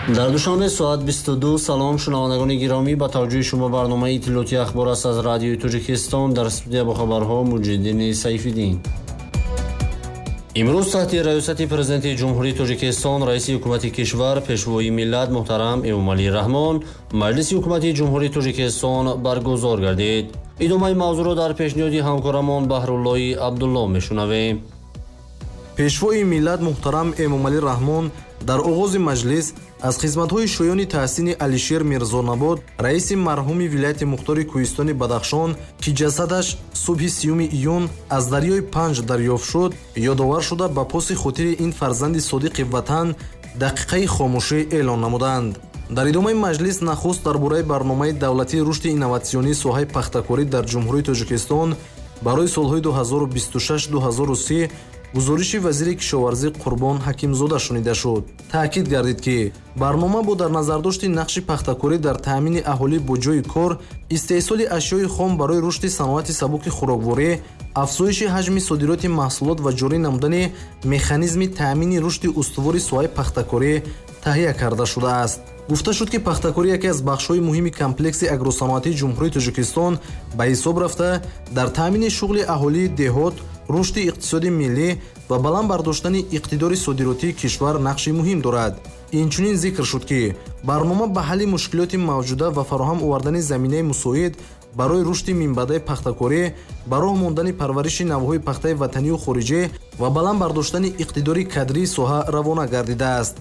Дар Душанбе соат 22. Салом, шунавандагони гиромӣ, ба таваҷҷӯҳи шумо барномаи иттилоотии «Ахбор» аст аз Радиои Тоҷикистон. Дар студия бо хабарҳо Муҷиддини Сайфиддин. Имрӯз таҳти раёсати Президенти Ҷумҳурии Тоҷикистон, раиси ҳукумати кишвар, Пешвои миллат муҳтарам Эмомалӣ Раҳмон Маҷлиси ҳукумати Ҷумҳурии Тоҷикистон баргузор гардид. Идомаи мавзӯъро дар пешниҳоди ҳамкорамон Баҳруллои Абдулло мешунавем. Пешвои миллат муҳтарам Эмомалӣ Раҳмон дар оғози маҷлис аз хизматҳои шоёни таҳсини Алишер Мирзонабод, раиси марҳуми вилояти мухтори Кӯҳистони Бадахшон, ки ҷасадаш субҳи 30 июн аз дарёи Панҷ дарёфт шуд, ёдовар шуда, ба поси хотири ин фарзанди содиқи ватан дақиқаи хомӯшӣ эълон намуданд. Дар идомаи маҷлис нахуст дар бораи барномаи давлатии рушди инноватсионии соҳаи пахтакорӣ дар Ҷумҳурии Тоҷикистон барои солҳои 2026-2030 гузориши вазири кишоварзӣ Қурбон Ҳакимзода шунида шуд. Таъкид гардид, ки барнома бо дар назардошти нақши пахтакорӣ дар таъмини аҳолӣ бо ҷойи кор, истеҳсоли ашёи хом барои рушди саноати сабуки хӯрокворӣ, афзоиши ҳаҷми содироти маҳсулот ва ҷорӣ намудани механизми таъмини рушди устувори соҳаи пахтакорӣ таҳия карда шудааст. Гуфта шуд, ки пахтакорӣ яке аз бахшҳои муҳими комплекси агросаноатии Ҷумҳурии Тоҷикистон ба ҳисоб рафта, дар таъмини шуғли аҳолии деҳот, рушди иқтисоди миллӣ ва баланд бардоштани иқтидори содиротии кишвар нақши муҳим дорад. Инчунин зикр шуд, ки барнома ба ҳалли мушкилоти мавҷуда ва фароҳам овардани заминаи мусоид барои рушди минбаъдаи пахтакорӣ, ба роҳ мондани парвариши навъҳои пахтаи ватанию хориҷӣ ва баланд бардоштани иқтидори кадрии соҳа равона гардидааст.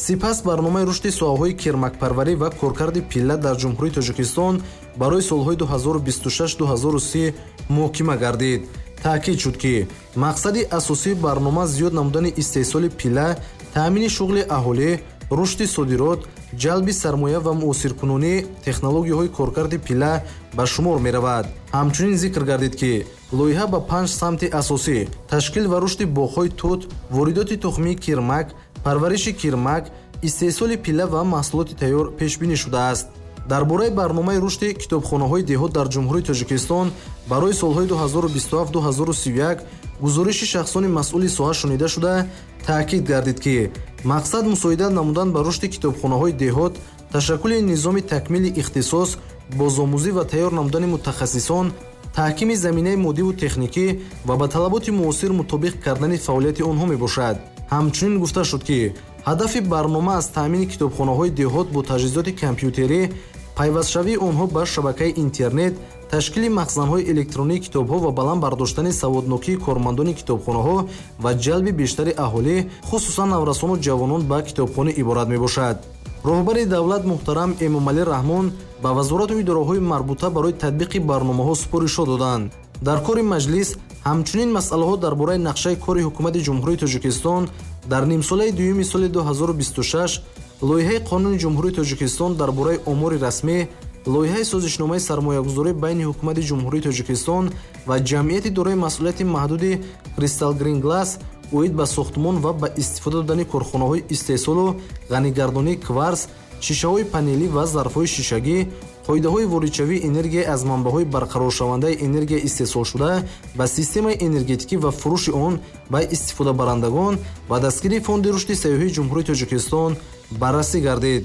Сипас барномаи рушди соҳаҳои кирмакпарварӣ ва коркарди пилла дар Ҷумҳурии Тоҷикистон барои солҳои 2026-2030 муҳокима гардид. Таъкид шуд, ки мақсади асосии барнома зиёд намудани истеҳсоли пилла, таъмини шуғли аҳолӣ, рушди содирот, ҷалби сармоя ва муосиркунонии технологияҳои коркарди пилла ба шумор меравад. Ҳамчунин зикр гардид, ки лоиҳа ба панҷ самти асосӣ: ташкил ва рушди боғҳои тут, воридоти тухмии кирмак, парвариши кирмак, истеҳсоли пилла ва маҳсулоти тайёр пешбинӣ шудааст. Дар бораи барномаи рушди китобхонаҳои деҳот дар Ҷумҳурии Тоҷикистон барои солҳои 2027-2031 гузориши шахсони масъули соҳа шунида шуда, таъкид гардид, ки мақсад мусоидат намудан ба рушди китобхонаҳои деҳот, ташаккули низоми такмили ихтисос, бозомӯзӣ ва тайёр намудани мутахассисон, таҳкими заминаи моддиву техникӣ ва ба талаботи муосир мутобиқ кардани фаъолияти онҳо мебошад. Ҳамчунин гуфта шуд, ки ҳадафи барнома аз таъмини китобхонаҳои деҳот бо таҷҳизоти компютерӣ, пайвастшавии онҳо ба шабакаи интернет, ташкили махзанҳои электронии китобҳо ва баланд бардоштани саводнокии кормандони китобхонаҳо ва ҷалби бештари аҳолӣ, хусусан наврасону ҷавонон, ба китобхонӣ иборат мебошад. Роҳбари давлат муҳтарам Эмомалӣ Раҳмон ба вазорату идораҳои марбута барои татбиқи барномаҳо супоришҳо доданд. Дар кори маҷлис ҳамчунин масъалаҳо дар бораи нақшаи кори Ҳукумати Ҷумҳурии Тоҷикистон дар нимсолаи дуюми соли 2026, лоиҳаи Қонуни Ҷумҳурии Тоҷикистон дар бораи омори расмӣ, лоиҳаи созишномаи сармоягузорӣ байни Ҳукумати Ҷумҳурии Тоҷикистон ва ҷамъияти дорои масъулияти маҳдуди «Кристал Грин Глас» оид ба сохтмон ва ба истифода додани корхонаҳои истеҳсолу ғанигардонии кварс, шишаҳои панелӣ ва зарфҳои шишагӣ, қоидаҳои воридшавии энергия аз манбаъҳои барқароршавандаи энергия истеҳсолшуда ба системаи энергетикӣ ва фурӯши он ба истифодабарандагон ва дастгирии Фонди рушди сайёҳии Ҷумҳурии Тоҷикистон баррасӣ гардид.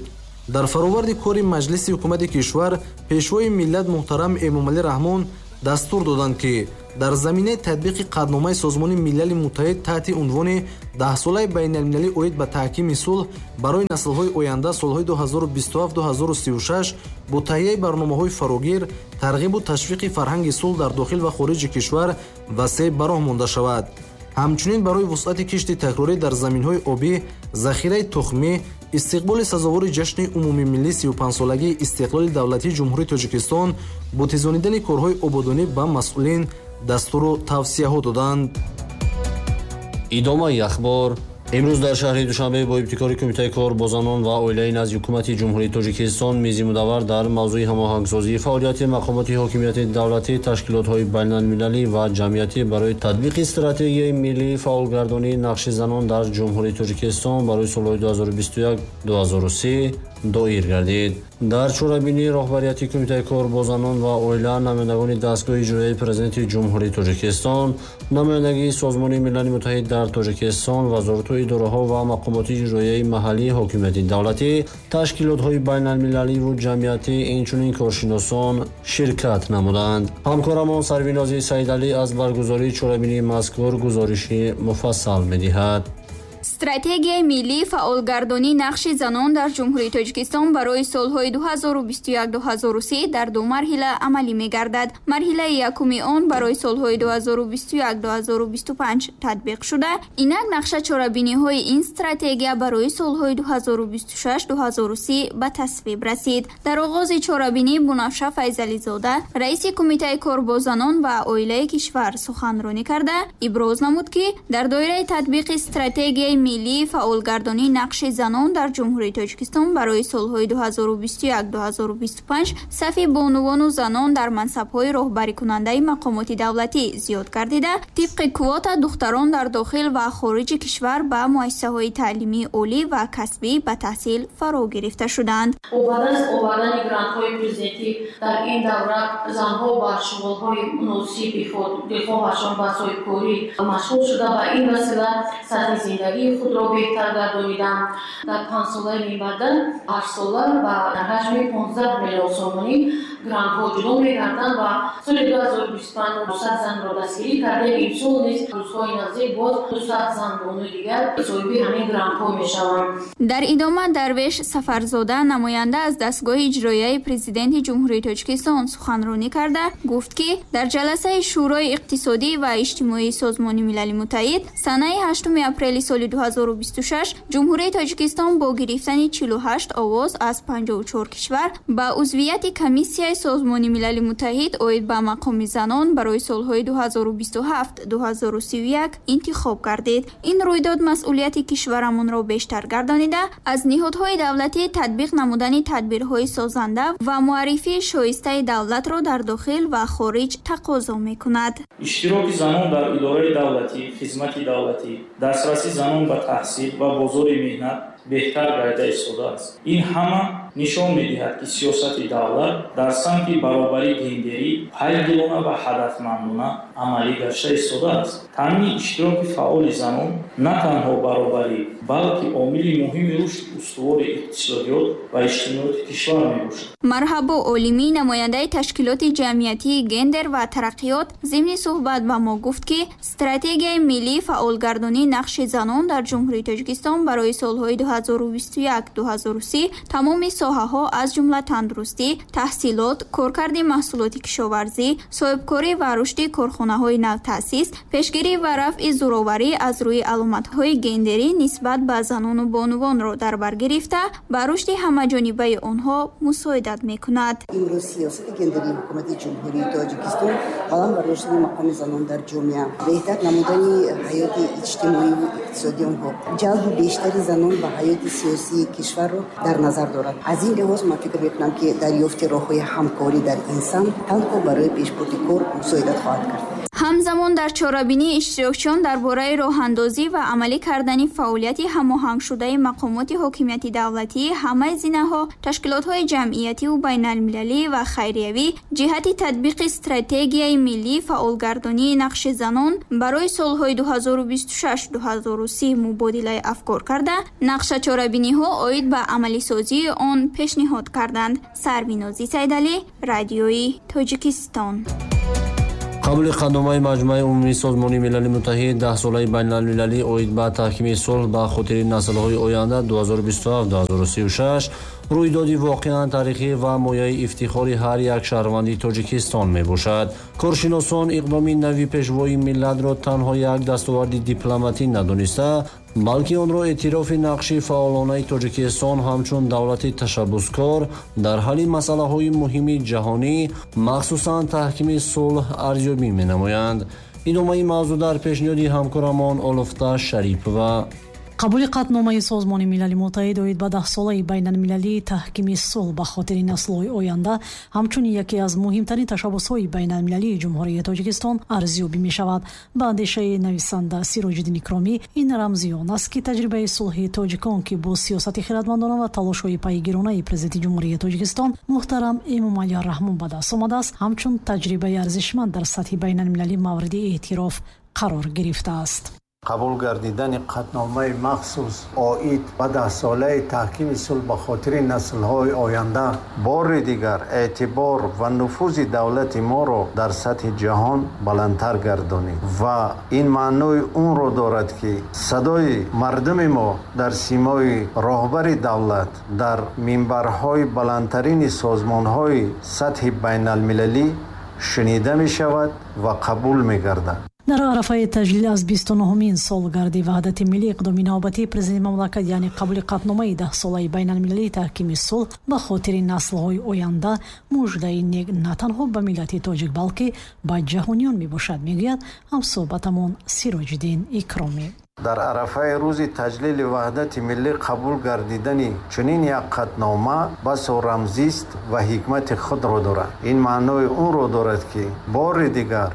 Дар фароварди кори маҷлиси ҳукумати кишвар Пешвои миллат муҳтарам Эмомалӣ Раҳмон дастур доданд, ки дар заминаи татбиқи қатъномаи Созмони Милали Муттаҳид таҳти унвони «Даҳсолаи байналмилалӣ оид ба таҳкими сулҳ барои наслҳои оянда солҳои 2027-2036» бо таҳияи барномаҳои фарогир тарғибу ташвиқи фарҳанги сулҳ дар дохил ва хориҷи кишвар васеъ ба роҳ монда шавад. Ҳамчунин барои вусъати кишти такрорӣ дар заминҳои обӣ, захираи тухмӣ, истиқболи сазовори ҷашни умумимиллии 35-солагии истиқлоли давлатии Ҷумҳурии Тоҷикистон бо тезонидани корҳои ободонӣ ба масъулин дастуру тавсияҳо доданд. Идомаи ахбор. Имрӯз дар шаҳри Душанбе бо ибтикори Кумитаи кор бо занон ва оилаи назди Ҳукумати Ҷумҳурии Тоҷикистон мизи мудаввар дар мавзӯи ҳамоҳангсозии фаъолияти мақомоти ҳокимияти давлатӣ, ташкилотҳои байналмилалӣ ва ҷамъиятӣ барои татбиқи стратегияи миллии фаъолгардонии нақши занон дар Ҷумҳурии Тоҷикистон барои солҳои 2021-2030 Доир гардид. Дар чорабинии роҳбарияти Кумитаи кор бо занон ва оила, намояндагони дастгоҳи иҷроияи Президенти Ҷумҳурии Тоҷикистон, намояндагии Созмони Милали Муттаҳид дар Тоҷикистон, вазорату идораҳо ва мақомоти иҷроияи маҳаллии ҳокимияти давлатӣ, ташкилотҳои байналмилаливу ҷамъиятӣ, инчунин коршиносон ширкат намуданд. Ҳамкорамон Сарвинози Саидалӣ аз баргузории чорабинии мазкур гузориши муфассал медиҳад. Стратегияи миллии фаъолгардонии нақши занон дар Ҷумҳурии Тоҷикистон барои солҳои 2021-2030 дар ду марҳила амалӣ мегардад. Марҳилаи якуми он барои солҳои 2021-2025 татбиқ шуда, инак нақша чорабиниҳои ин стратегия барои солҳои 2026-2030 ба тасвиб расид. Дар оғози чорабинӣ Бунафша Файзализода, раиси Кумитаи кор бо занон ва оилаи кишвар суханронӣ карда, иброз намуд, ки дар доираи татбиқи стратегияи миллии фаъолгардонии нақши занон дар Ҷумҳурии Тоҷикистон барои солҳои 2021-2025 сафи бонувону занон дар мансабҳои роҳбарикунандаи мақомоти давлатӣ зиёд гардида, тибқи квота духтарон дар дохил ва хориҷи кишвар ба муассисаҳои таълимии олӣ ва касбӣ ба таҳсил фаро гирифта шуданд. Бо ба даст овардани грантҳои президентӣ дар ин давра занҳо ба шуғлҳои муносиби худ, дилхоҳашон ба соҳибкорӣ машғул шуда, ба ин васила сатҳи зиндагии худро беҳтар гардониданд. Дар 5 солаи минбаъда ҳаштсола ба ҳаҷми 15 миллион сомонӣ грантҳо ҷудо мегарданд ва соли 2025 200 занро дастгирӣ кардем. Имсол низ рӯзҳои наздик боз 200 зан бонуи дигар соҳиби ҳамин грантҳо мешаванд. Дар идома Дарвеш Сафарзода, намоянда аз дастгоҳи иҷроияи Президенти Ҷумҳурии Тоҷикистон суханронӣ карда, гуфт, ки дар ҷаласаи Шӯрои иқтисодӣ ва иҷтимоии Созмони Милали Муттаҳид санаи 8 апрели соли 2026 Ҷумҳурии Тоҷикистон бо гирифтани 48 овоз аз 54 кишвар ба узвияти Комиссияи Созмони Милали Муттаҳид оид ба мақоми занон барои солҳои 2027-2031 интихоб гардид. Ин рӯйдод масъулияти кишварамонро бештар гардонида, аз ниҳодҳои давлатӣ татбиқ намудани тадбирҳои созанда ва муаррифии шоистаи давлатро дар дохил ва хориҷ тақозо мекунад. Иштироки занон дар идораи давлатӣ, хизмати давлатӣ, дастрасии занон ба таҳсил ва бозори меҳнат беҳтар гардида истодааст. Ин ҳама нишон медиҳад, ки сиёсати давлат дар самти баробарии гендерӣ пайдилона ва ҳадафмандона амалӣ гашта истодааст. Таъмини иштироки фаъоли занон на танҳо баробарӣ, балки омили муҳими рушди устувори иқтисодиёт ва иҷтимоияти кишвар мебошад. Марҳабо Олимӣ, намояндаи ташкилоти ҷамъиятии «Гендер ва тараққиёт», зимни суҳбат ба мо гуфт, ки стратегияи миллии фаъолгардонии нақши занон дар Ҷумҳурии Тоҷикистон барои солҳои 2021-2030 тамоми соҳаҳо, аз ҷумла тандурустӣ, таҳсилот, коркарди маҳсулоти кишоварзӣ, соҳибкорӣ ва рушди корхонаҳои навтаъсис, пешгирӣ ва рафъи зӯроварӣ аз рӯи аломатҳои гендерӣ нисбат ба занону бонувонро дар бар гирифта, ба рушди ҳамаҷонибаи онҳо мусоидат мекунад. Имрӯз сиёсати гендерии Ҳукумати Ҷумҳурии Тоҷикистон баланд бардоштани мақоми занон дар ҷомеа, беҳтар намудани ҳаёти иҷтимоию иқтисодии онҳо, ҷалби бештари занон ба ҳаёти сиёсии кишварро дар назар дорад. Аз ин лиҳоз ман фикр мекунам, ки дарёфти роҳҳои ҳамкорӣ дар ин самт танҳо барои пешбурди кор мусоидат хоҳад кард. Ҳамзамон дар чорабинӣ иштирокчиён дар бораи роҳандозӣ ва амалӣ кардани фаъолияти ҳамоҳангшудаи мақомоти ҳокимияти давлатӣ, ҳамаи зинаҳо, ташкилотҳои ҷамъиятиву байналмилалӣ ва хайриявӣ ҷиҳати татбиқи стратегияи миллии фаъолгардонии нақши занон барои солҳои 2026-2030 мубодилаи афкор карда, нақша чорабиниҳо оид ба амалисозии он пешниҳод карданд. Сарвинозӣ Сайдалӣ, Радиои Тоҷикистон. Қабули қатъномаи Маҷмӯаи Умумии Созмони Милали Муттаҳид Даҳсолаи байналмилалӣ оид ба таҳкими сулҳ ба хотири наслҳои оянда 2027-2036 рӯйдоди воқеан таърихӣ ва мояи ифтихори ҳар як шаҳрванди Тоҷикистон мебошад. Коршиносон иқдоми нави пешвои миллатро танҳо як дастоварди дипломатӣ надониста, балки онро эътирофи нақши фаъолонаи Тоҷикистон ҳамчун давлати ташаббускор дар ҳалли масъалаҳои муҳими ҷаҳонӣ, махсусан таҳкими сулҳ, арзёбӣ менамоянд. Идомаи мавзӯъ дар пешниҳоди ҳамкорамон Олуфта Шарипова. Қабули қатъномаи Созмони Милали Муттаҳид оид ба даҳсолаи байналмилалии таҳкими сулҳ ба хотири наслҳои оянда ҳамчун яке аз муҳимтарин ташаббусҳои байналмилалии Ҷумҳурии Тоҷикистон арзёбӣ мешавад. Ба андешаи нависанда Сироҷиддин Икромӣ, ин рамзи он аст, ки таҷрибаи сулҳи тоҷикон, ки бо сиёсати хиратмандона ва талошҳои пайгиронаи Президенти Ҷумҳурии Тоҷикистон муҳтарам Эмомалӣ Раҳмон ба даст омадааст, ҳамчун таҷрибаи арзишманд дар сатҳи байналмилалӣ мавриди эътироф қарор гирифтааст. Қабул гардидани қатъномаи махсус оид ба даҳсолаи таҳкими сулҳ ба хотири наслҳои оянда бори дигар эътибор ва нуфузи давлати моро дар сатҳи ҷаҳон баландтар гардонид ва ин маънои онро дорад, ки садои мардуми мо дар симои роҳбари давлат дар минбарҳои баландтарини созмонҳои сатҳи байналмилалӣ шунида мешавад ва қабул мегардад. Дар арафаи таҷлил аз 29-умин солгарди ваҳдати миллӣ иқдоми навбатии президенти мамлакат, яъне қабули қатъномаи даҳсолаи байналмилалии таҳкими сулҳ ба хотири наслҳои оянда, муждаи нек на танҳо ба миллати тоҷик, балки ба ҷаҳониён мебошад, мегӯяд ҳамсӯҳбатамон Сироҷиддин Икромӣ. Дар арафаи рӯзи таҷлили ваҳдати миллӣ қабул гардидани чунин як қатънома басо рамзист ва ҳикмати худро дорад. Ин маънои онро дорад, ки бори дигар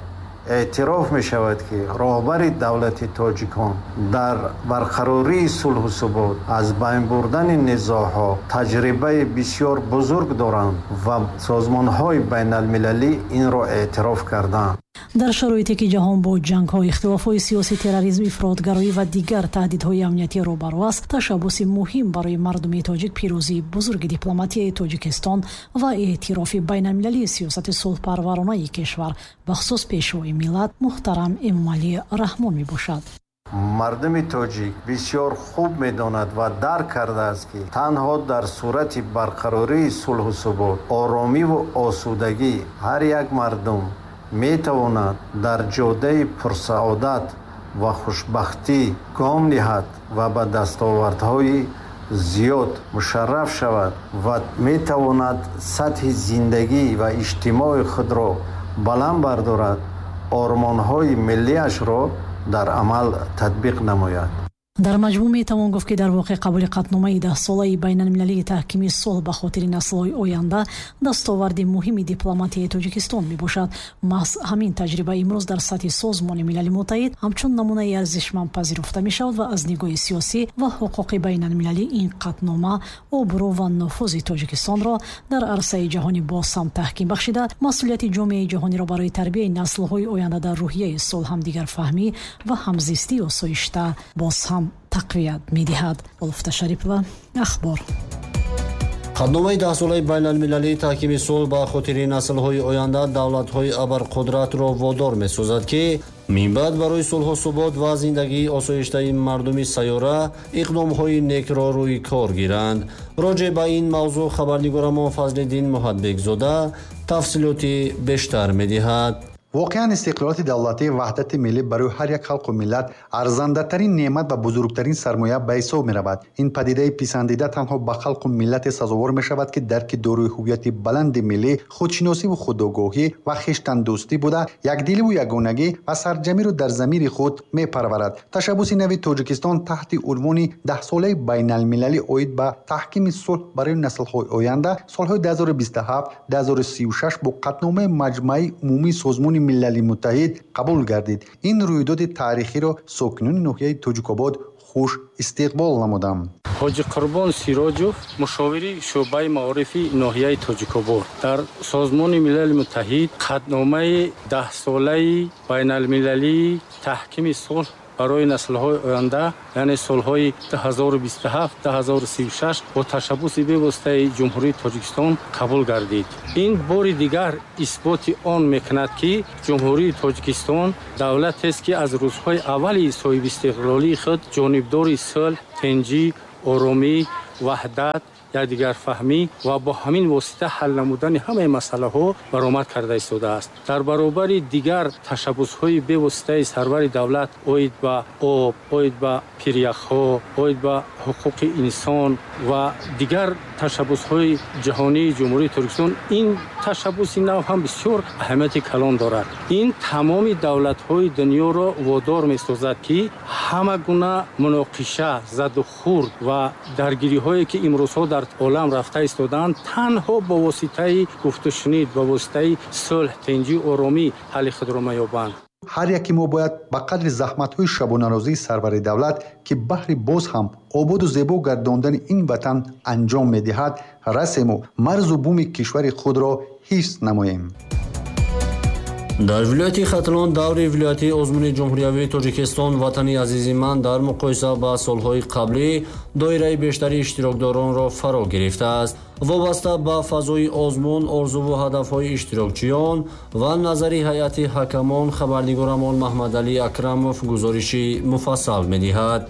эътироф мешавад, ки роҳбари давлати тоҷикон дар барқарории сулҳу субот, аз байн бурдани низоъҳо таҷрибаи бисёр бузург доранд ва созмонҳои байналмилалӣ инро эътироф карданд. Дар шароите ки ҷаҳон бо ҷангҳо, ихтилофҳои сиёсӣ, терроризм, ифротгароӣ ва дигар таҳдидҳои амниятӣ рӯбарӯ аст, ташаббуси муҳим барои мардуми тоҷик, пирӯзии бузурги дипломатияи Тоҷикистон ва эътирофи байналмилалии сиёсати сулҳпарваронаи кишвар, бахусус пешвои миллат муҳтарам Эмомалӣ Раҳмон мебошад. Мардуми тоҷик бисёр хуб медонад ва дарк кардааст, ки танҳо дар сурати барқарории сулҳу субот, оромиву осудагӣ ҳар як мардум метавонад дар ҷодаи пурсаодат ва хушбахтӣ гом ниҳад ва ба дастовардҳои зиёд мушарраф шавад ва метавонад сатҳи зиндагӣ ва иҷтимои худро баланд бардорад, ормонҳои миллиашро дар амал татбиқ намояд. Дар маҷмӯъ метавон гуфт, ки дар воқеъ қабули қатъномаи даҳсолаи байналмилалии таҳкими сулҳ ба хотири наслҳои оянда дастоварди муҳими дипломатияи Тоҷикистон мебошад. Маҳз ҳамин таҷриба имрӯз дар сатҳи Созмони Милали Муттаҳид ҳамчун намунаи арзишманд пазируфта мешавад ва аз нигоҳи сиёсӣ ва ҳуқуқи байналмилалӣ ин қатънома обрӯ ва нуфузи Тоҷикистонро дар арсаи ҷаҳонӣ боз ҳам таҳким бахшида, масъулияти ҷомеаи ҷаҳониро барои тарбияи наслҳои оянда дар рӯҳияи сулҳ, ҳамдигарфаҳмӣ ва ҳамзистии осоишта боз ҳам тақвият медиҳад. Улфта Шарипова, Ахбор. Қатъномаи даҳсолаи байналмилалии таҳкими сулҳ ба хотири наслҳои оянда давлатҳои абарқудратро водор месозад, ки минбаъд барои сулҳу субот ва зиндагии осоиштаи мардуми сайёра иқдомҳои некро рӯи кор гиранд. Роҷеъ ба ин мавзӯъ хабарнигорамон Фазлиддин Муҳадбекзода тафсилоти бештар медиҳад. Воқеан, истиқлолияти давлатӣ, ваҳдати миллӣ барои ҳар як халқу миллат арзандатарин неъмат ва бузургтарин сармоя ба ҳисоб меравад. Ин падидаи писандида танҳо ба халқу миллате сазовор мешавад, ки дарки дорои ҳуввияти баланди миллӣ, худшиносиву худогоҳӣ ва хештандӯстӣ буда, якдиливу ягонагӣ ва сарҷамиро дар замири худ мепарварад. Ташаббуси нави Тоҷикистон таҳти унвони даҳсолаи байналмилалӣ оид ба таҳкими сулҳ барои наслҳои оянда солҳои 2027-2036 бо қатъномаи Маҷмааи умумии Созмони Милали Муттаҳид қабул гардид. Ин рӯйдоди таърихиро сокинони ноҳияи Тоҷикобод хуш истиқбол намуданд. Ҳоҷи Қурбон Сироҷов, мушовири шӯъбаи маорифи ноҳияи Тоҷикобод. Дар Созмони Милали Муттаҳид қатъномаи даҳсолаи байналмилалии таҳкими сулҳ барои наслҳои оянда, яъне солҳои 2027-2036 бо ташаббуси бевоситаи Ҷумҳурии Тоҷикистон қабул гардид. Ин бори дигар исботи он мекунад, ки Ҷумҳурии Тоҷикистон давлатест, ки аз рӯзҳои аввали соҳибистиқлолии худ ҷонибдори сулҳ, тинҷӣ, оромӣ, ваҳдат Якдигарфаҳмӣ ва бо ҳамин восита ҳал намудани ҳамаи масъалаҳо баромад карда истодааст. Дар баробари дигар ташаббусҳои бевоситаи сарвари давлат оид ба об, оид ба пиряхҳо, оид ба ҳуқуқи инсон ва дигар ташаббусҳои ҷаҳонии Ҷумҳурии Тоҷикистон, ин ташаббуси нав ҳам бисёр аҳамияти калон дорад. Ин тамоми давлатҳои дунёро водор месозад, ки ҳама гуна муноқиша, задухӯрд ва даргириҳое, ки имрӯзҳо дар олам рафта истодаанд, танҳо бо воситаи гуфтушунид, бо воситаи сулҳ, тинҷӣ, оромӣ ҳалли худро меёбанд. Ҳар яке мо бояд ба қадри заҳматҳои шабонарӯзии сарвари давлат, ки баҳри боз ҳам ободу зебо гардондани ин ватан анҷом медиҳад, расему марзу буми кишвари худро ҳифз намоем. Дар вилояти Хатлон даври вилоятии озмуни ҷумҳуриявии Тоҷикистон «Ватани азизи ман» дар муқоиса ба солҳои қаблӣ доираи бештари иштирокдоронро фаро гирифтааст. Вобаста ба фазои озмун, орзуву ҳадафҳои иштирокчиён ва назари ҳайати ҳакамон хабарнигорамон Маҳмадалӣ Акрамов гузориши муфассал медиҳад.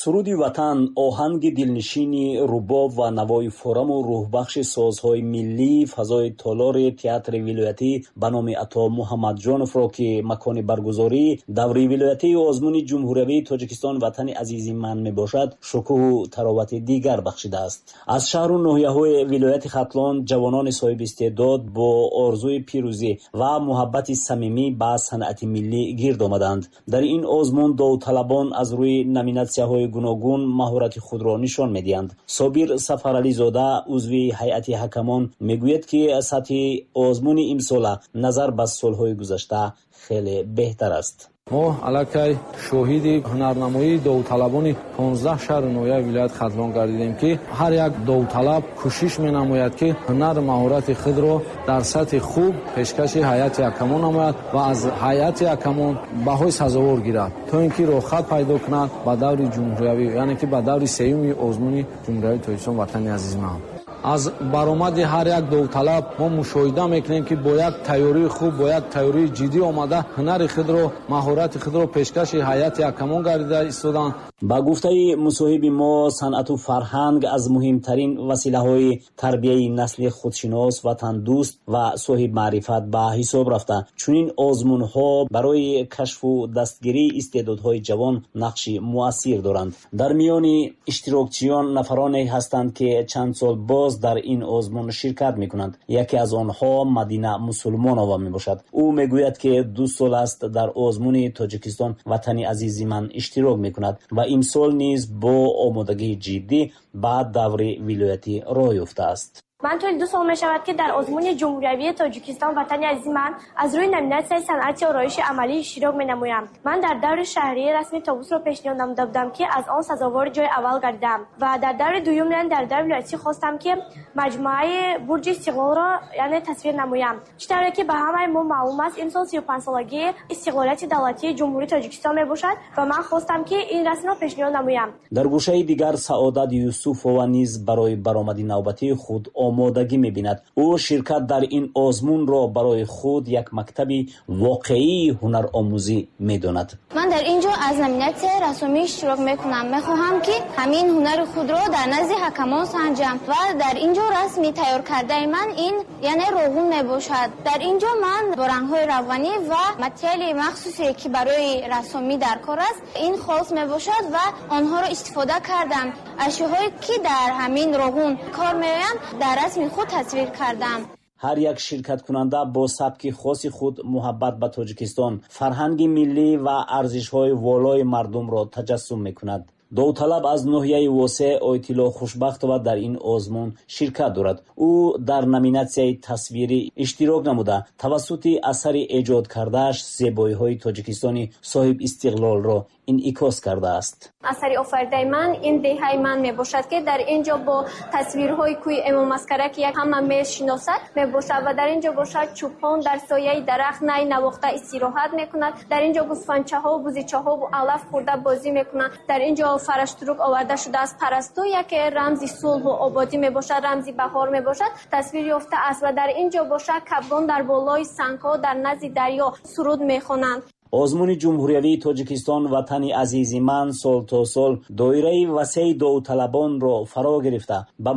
Суруди ватан, оҳанги дилнишини рубоб ва навои фораму рӯҳбахши созҳои миллӣ фазои толори театри вилоятӣ ба номи Ато Муҳаммадҷоновро, ки макони баргузории даври вилоятии озмуни ҷумҳуриявии Тоҷикистон «Ватани азизи ман» мебошад, шукӯҳу таровати дигар бахшидааст. Аз шаҳру ноҳияҳои вилояти Хатлон ҷавонони соҳибистеъдод бо орзуи пирӯзӣ ва муҳаббати самимӣ ба санъати миллӣ гирд омаданд. Дар ин озмун довталабон аз рӯи номинатсияҳои гуногун маҳорати худро нишон медиҳанд. Собир Сафарализода, узви ҳайати ҳакамон, мегӯяд, ки сатҳи озмуни имсола назар ба солҳои гузашта хеле беҳтар аст. Мо аллакай шоҳиди ҳунарнамоии довталабони 15 шаҳру ноҳияи вилояти Хатлон гардидем, ки ҳар як довталаб кӯшиш менамояд, ки ҳунару маҳорати худро дар сатҳи хуб пешкаши ҳайати ҳакамон намояд ва аз ҳайати ҳакамон баҳои сазовор гирад, то ин ки роҳхат пайдо кунад ба даври ҷумҳуриявӣ, яъне ки ба даври сеюми озмуни ҷумҳуриявии Тоҷикистон «Ватани азизи ман». Аз баромади ҳар як довталаб мо мушоҳида мекунем, ки бо як тайёрии хуб, бо як тайёрии ҷиддӣ омада, ҳунари худро, маҳорати худро пешкаши ҳайати ҳакамон гардида истоданд. Ба гуфтаи мусоҳиби мо, санъату фарҳанг аз муҳимтарин василаҳои тарбияи насли худшинос, ватандӯст ва соҳибмаърифат ба ҳисоб рафта, чунин озмунҳо барои кашфу дастгирии истеъдодҳои ҷавон нақши муассир доранд. Дар миёни иштирокчиён нафароне ҳастанд, ки чанд сол боз дар ин озмун ширкат мекунанд. Яке аз онҳо Мадина Мусулмонова мебошад. Ӯ мегӯяд, ки 2 сол аст дар озмуни Тоҷикистон «Ватани азизи ман» иштирок мекунад ва имсол низ бо омодагии ҷиддӣ ба даври вилоятӣ роҳ ёфтааст. Ман тӯли 2 сол мешавад, ки дар озмуни ҷумҳуриявии Тоҷикистон «Ватани азизи ман» аз рӯи номинатсияи санъати ороиши амалӣ иштирок менамоям. Ман дар даври шаҳрӣ расми тобусро пешниҳод намуда будам, ки аз он сазовори ҷои аввал гардидам, ва дар даври дуюм, яъне дар даври вилоятӣ, хостам, ки маҷмӯаи Бурҷи Истиқлолро, яъне, тасвир намоям. Чӣ тавре ки ба ҳамаи мо маълум аст, имсол 35-солагии истиқлолияти давлатии Ҷумҳурии Тоҷикистон мебошад ва ман хостам, ки ин расмро пешниҳод намоям. Дар гӯшаи дигар Саодат Юсуфова низ барои баромади навбатии худ омодагӣ мебинад. Ӯ ширкат дар ин озмунро барои худ як мактаби воқеии ҳунаромӯзӣ медонад. Ман дар ин ҷо аз номинатсияи рассомӣ иштирок мекунам. Мехоҳам, ки ҳамин ҳунари худро дар назди ҳакамон санҷам ва дар ин ҷо расми тайёр кардаи ман ин, яъне, роғун мебошад. Дар ин ҷо ман бо рангҳои равғанӣ ва материали махсусе, ки барои рассомӣ дар кор аст, ин холст мебошад, ва онҳоро истифода кардам. Ашёҳое, ки дар ҳамин роғун кор меоянд, дар расми худ тасвир кардам. Ҳар як ширкаткунанда бо сабки хоси худ муҳаббат ба Тоҷикистон, фарҳанги миллӣ ва арзишҳои волои мардумро таҷассум мекунад. Довталаб аз ноҳияи Восе Ойтилло Хушбахтова дар ин озмун ширкат дорад. Ӯ дар номинатсияи тасвирӣ иштирок намуда, тавассути асари эҷод кардааш зебоиҳои Тоҷикистони соҳибистиқлолро инъикос кардааст. Асари офаридаи ман ин деҳаи ман мебошад, ки дар ин ҷо бо тасвирҳои кӯи Эмомаскара, ки ҳама мешиносад, мебошад, ва дар ин ҷо бошад чӯпон дар сояи дарахт най навохта истироҳат мекунад. Дар ин ҷо гӯсфандчаҳо, бузичаҳо алаф хӯрда бозӣ мекунанд. Дар ин ҷо фараштурук оварда шудааст. Парасту яке рамзи сулҳу ободӣ мебошад, рамзи баҳор мебошад, тасвир ёфтааст, ва дар ин ҷо бошад кабгон дар болои сангҳо дар назди дарё суруд мехонанд. Озмуни ҷумҳуриявии Тоҷикистон «Ватани азизи ман» сол то сол доираи васеи довталабонро фаро гирифта, ба